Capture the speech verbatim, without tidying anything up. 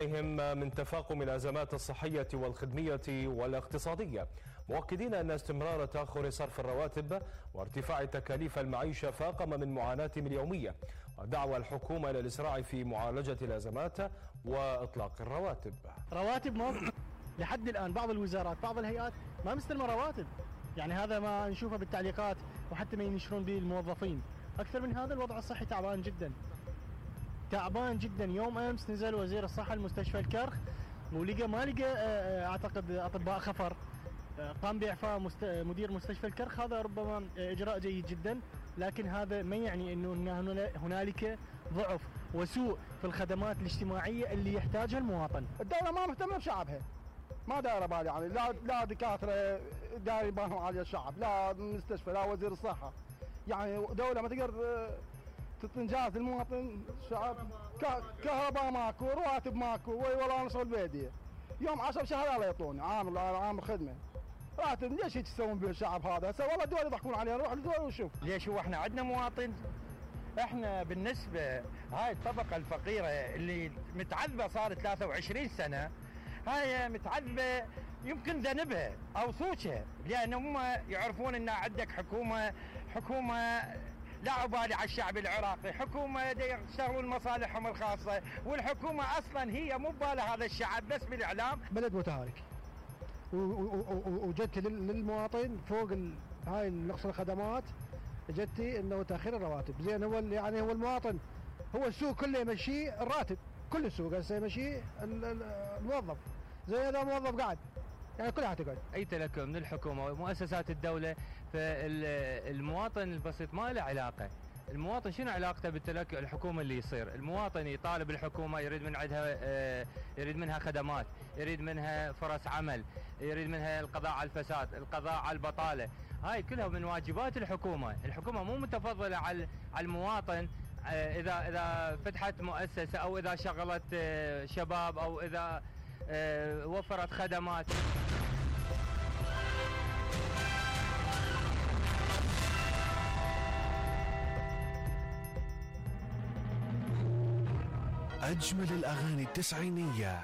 هم من تفاقم الأزمات الصحية والخدمية والاقتصادية، مؤكدين أن استمرار تأخر صرف الرواتب وارتفاع تكاليف المعيشة فاقم من معاناتهم اليومية، ودعوى الحكومة إلى الإسراع في معالجة الأزمات وإطلاق الرواتب. رواتب ما لحد الآن بعض الوزارات بعض الهيئات ما مستلمة رواتب، يعني هذا ما نشوفه بالتعليقات وحتى ما ينشرون به الموظفين. أكثر من هذا الوضع الصحي تعبان جدا تعبان جدا. يوم امس نزل وزير الصحه المستشفى الكرخ ولقى ما لقى اعتقد اطباء خفر، قام باعفاء مست... مدير مستشفى الكرخ. هذا ربما اجراء جيد جدا، لكن هذا ما يعني انه هنالك ضعف وسوء في الخدمات الاجتماعيه اللي يحتاجها المواطن. الدوله ما مهتمه بشعبها، ما دايره بالها، يعني لا لا دكاتره داير بالهم على الشعب، لا مستشفى، لا وزير الصحه. يعني دوله ما تقدر تنجاز المواطن الشعب. كهرباء ماكو، رواتب ماكو، وي والله انا شغل بيدي يوم عشر شهر لا يعطوني عامل عامل خدمه راتب. ليش هيك تسوون بالشعب هذا؟ هسه والله الدول يضحكون علينا، نروح للدول ونشوف. ليش هو احنا عندنا مواطن؟ احنا بالنسبه هاي الطبقه الفقيره اللي متعذبه صار ثلاثة وعشرين سنه، هاي متعذبه يمكن ذنبها او سوشها، لان هم يعرفون ان عندك حكومه حكومه لا عبالي على الشعب العراقي، حكومه يشتغلون مصالحهم الخاصه، والحكومه اصلا هي مو ببالها هذا الشعب بس بالاعلام. بلد متهالك وجدت للمواطن فوق هاي نقص الخدمات، جدتي انه تاخير الرواتب. زين هو يعني هو المواطن هو السوق كله يمشيه الراتب، كل السوق هسه يمشيه الموظف. زي هذا موظف قاعد يعني كلها تقعد. اي تلكؤ من الحكومه ومؤسسات الدوله، فالمواطن البسيط ما له علاقه. المواطن شنو علاقته بالتلكؤ الحكومه اللي يصير؟ المواطن يطالب الحكومه، يريد من عندها يريد منها خدمات، يريد منها فرص عمل، يريد منها القضاء على الفساد، القضاء على البطاله. هاي كلها من واجبات الحكومه. الحكومه مو متفضله على على المواطن اذا اذا فتحت مؤسسه او اذا شغلت شباب او اذا وفرت خدمات. أجمل الأغاني التسعينية